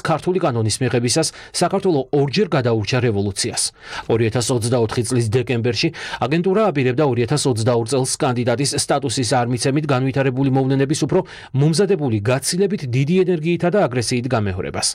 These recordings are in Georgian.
ქართული კანონის მიღებისას საქართველო ორჯერ გადაურჩა რევოლუციას. 2024 წლის დეკემბერში აგენტურა აპირებდა 2022 წელს კანდიდატის სტატუსის არ მიცემით განვითარებული მოვლენების უფრო მომზადებული გაცილებით დიდი ენერგიითა და აგრესიით გამეორებას.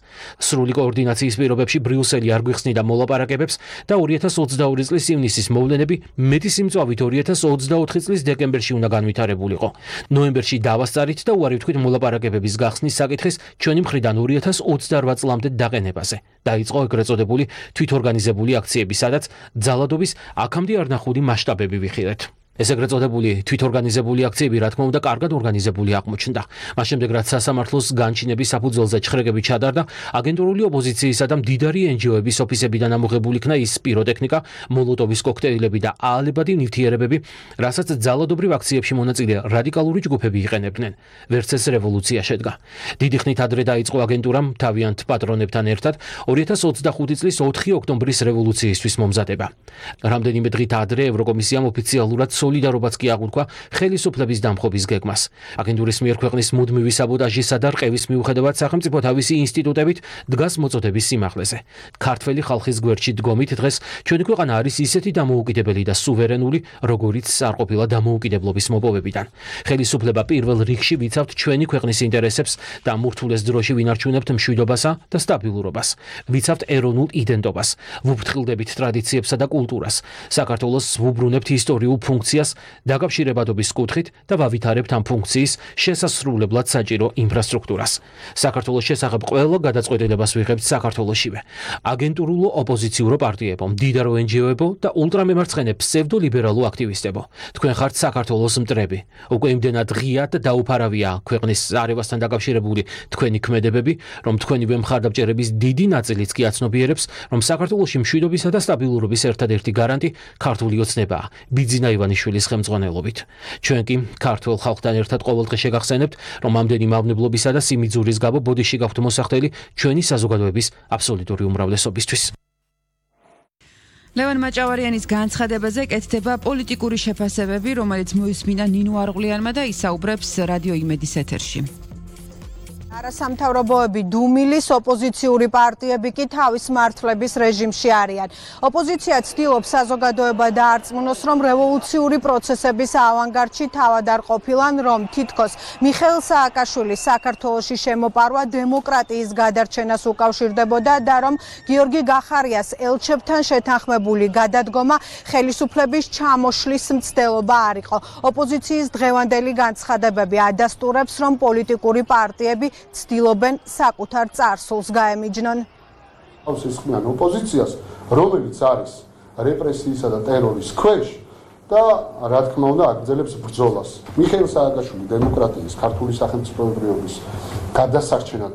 სრული კოორდინაციის პირობებში ბრიუსელი არ გვიხსნიდა მოლაპარაკებებს და 2022 წლის ივნისის მოვლენები მეტი სიმწვავით 2024 წლის დეკემბერში უნდა განვითარებულიყო. ნოემბერში დავასწარით და უარი ვთქვით მოლაპარაკებების გახსნის საკითხის ჩვენი მხრიდან 2028 წლამდე დაყენებაზე. დაიწყო ეგრეთ წოდებული თვითორგანიზებული აქციები, სადაც ძალადობის აქამდე არ ნახული მასშტაბები ვიხილეთ. ეს ეგრეთ წოდებული თვითორგანიზებული აქციები რა თქმა უნდა კარგად ორგანიზებული აღმოჩნდა. მას შემდეგ რაც სასამართლოს განჩინების საფუძველზე ჩხრეკები ჩადარდა, აგენტურული ოპოზიციისა და მდიდარი NGO-ების ოფისებიდან ამოღებული იქნა ის პიროტექნიკა, მოლოტოვის კოქტეილები და აალებადი ნივთიერებები, რასაც ძალადობრივ აქციებში მონაწილე რადიკალური ჯგუფები იყენებდნენ. ვერც ეს რევოლუცია შედგა. დიდი ხნით ადრე დაიწყო აგენტურამ თავიანთ პატრონებთან ერთად 2025 წლის 4 ოქტომბრის რევოლუციისთვის მომზადება. რამდენიმე დღით ადრე ევროკომისიამ ოფიციალურად სოლიდარობაც კი აღუთქვა ხელისუფლების დამხობის გეგმას. აგენტურის მიერ ქვეყნის მუდმივი საბოტაჟისა და რყევის მიუხედავად სახელმწიფო თავისი ინსტიტუტებით დგას მოწოდების სიმაღლეზე. ქართველი ხალხის გვერდში დგომით დღეს ჩვენი ქვეყანა არის ისეთი დამოუკიდებელი და სუვერენული, როგორიც არ ყოფილა დამოუკიდებლობის მოპოვებიდან. ხელისუფლება პირველ რიგში ვიცავთ ჩვენი ქვეყნის ინტერესებს და მურთულეს დროში ვინარჩუნებთ მშვიდობასა და სტაბილურობას. ვიცავთ ეროვნულ იდენტობას, ვუფრთხილდებით ტრადიციებსა და კულტურას. საქართველოს ვუბრუნებთ ისტორიულ ფუნქციას დაკავშირებადობის კუთხით და ვავითარებთ ამ ფუნქციის შესასრულებლად საჭირო ინფრასტრუქტურას. საქართველოს შესახებ ყველა გადაწყვეტილებას ვიღებთ საქართველოსშივე. აგენტურულო ოპოზიციურო პარტიებო, მდიდარო NGO-ებო და ულტრამემარცხენე ფსევდოლიბერალო აქტივისტებო. თქვენ ხართ საქართველოს მტრები. უკვე იმდენად ღიად და დაუფარავია ქვეყნის არევასთან დაკავშირებული თქვენი ქმედებები, რომ თქვენივე მხარდამჭერების დიდი ნაწილიც კი აცნობიერებს, რომ საქართველოში მშვიდობისა და სტაბილურობის ერთადერთი გარანტი ქართული ოცნებაა. ბიძინა ივანიშვილის ხელმძღვანელობით. ჩვენ კი ქართულ ხალხთან ერთად ყოველდღე შეგახსენებთ, რომ ამდენი მავნებლობისა და სიმიძურის გამო ბოდიში გაქვთ მოსახდელი ჩვენი საზოგადოების აბსოლუტური უმრავლესობისთვის. ლევან მაჭავარიანის განცხადებაზე კეთდება პოლიტიკური შეფასებები, რომელიც მოისმინა ნინო არღვლიანმა და ისაუბრებს რადიო იმედის ეთერში. არასამთავრობოები, დუმილის ოპოზიციური პარტიები კი თავის მართლების რეჟიმში არიან. ოპოზიცია ცდილობს საზოგადოება დაარწმუნოს, რომ რევოლუციური პროცესების ავანგარდში თავად არ ყოფილან, რომ თითქოს მიხეილ სააკაშვილის საქართველოში შემოპარვა დემოკრატიის გადარჩენას უკავშირდებოდა და რომ გიორგი გახარიას ელჩებთან შეთანხმებული გადადგომა ხელისუფლების ჩამოშლის მცდელობა არ იყო. ოპოზიციის დღევანდელი განცხადებები ადასტურებს, რომ პოლიტიკური პარტიები ცდილობენ საკუთარ წარსულს გაემიჯნონ. ისხმიან ოპოზიციას, რომელიც არის რეპრესიისა და ტერორის ქვეშ და რა თქმა უნდა აგრძელებს ბრძოლას. მიხეილ სააკაშვილი დემოკრატიის ქართული სახელმწიფოებრიობის გადასარჩენად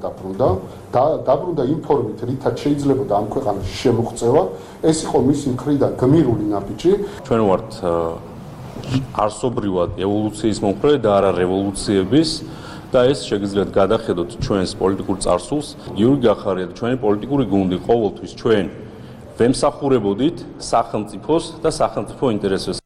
დაბრუნდა იმ ფორმით, რითაც შეიძლებოდა ამ ქვეყანაში შემოღწევა. ეს იყო მისი მხრიდან გმირული ნაბიჯი. ჩვენ ვართ არსობრივად ევოლუციის მომხრე და არა რევოლუციების და ეს შეგიძლიათ გადახედოთ ჩვენს პოლიტიკურ წარსულს. გიორგი გახარია და ჩვენი პოლიტიკური გუნდი ყოველთვის ჩვენ ვემსახურებოდით სახელმწიფოს და სახელმწიფო ინტერესებს.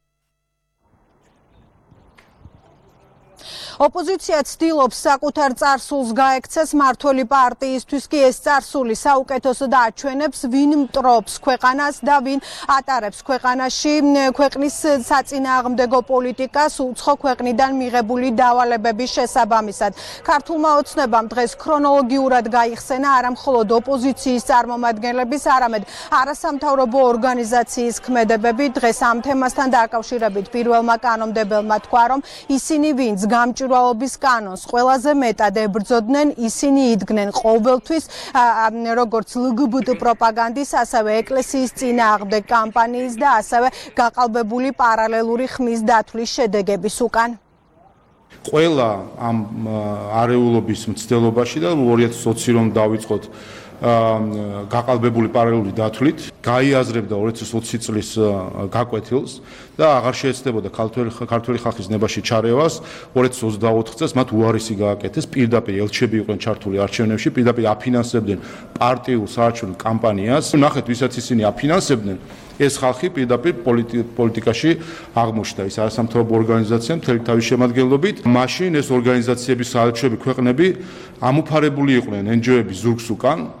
ოპოზიცია ცდილობს საკუთარ წარსულს გაექცეს, მართველი პარტიისთვის კი ეს წარსული საუკეთესოდ აჩვენებს, ვინ მტრობს ქვეყანას და ვინ ატარებს ქვეყანაში ქვეყნის საწინააღმდეგო პოლიტიკას უცხო ქვეყნიდან მიღებული დავალებების შესაბამისად. ქართულმა ოცნებამ დღეს ქრონოლოგიურად გაიხსენა არა მხოლოდ ოპოზიციის წარმომადგენლების, არამედ არასამთავრობო ორგანიზაციის ქმედებები. დღეს ამ თემასთან დაკავშირებით პირველმა კანონმდებელმა თქვა, რომ ისინი ვინც გამჭვირვალობის კანონს ყველაზე მეტად ებრძოდნენ, ისინი იდგნენ ყოველთვის როგორც LGBT პროპაგანდის, ასევე ეკლესიის წინააღმდეგ კამპანიის და ასევე გაყალბებული პარალელური ხმის დათვლის შედეგების უკან. ყველა ამ არეულობის მცდელობაში და 2020 რომ დავიწყოთ გაყალბებული პარალელური დათვლით, გაიაზრებდა 2020 წლის გაკვეთილს და აღარ შეეცდებოდა ქართველი ხალხის ნებაში ჩარევას. 2024 წელს მათ უარესი გააკეთეს, პირდაპირ ელჩები იყვნენ ჩართული არჩევნებში, პირდაპირ აფინანსებდნენ პარტიულ საარჩევნო კამპანიას. ნახეთ, ვისაც ისინი აფინანსებდნენ, ეს ხალხი პირდაპირ პოლიტიკაში აღმოჩნდა. ის არასამთავრობო ორგანიზაცია მთელი თავის შემადგენლობით. მაშინ ეს ორგანიზაციების საელჩები ქვეყნები ამოფარებული იყვნენ NGO-ების ზურგს უკან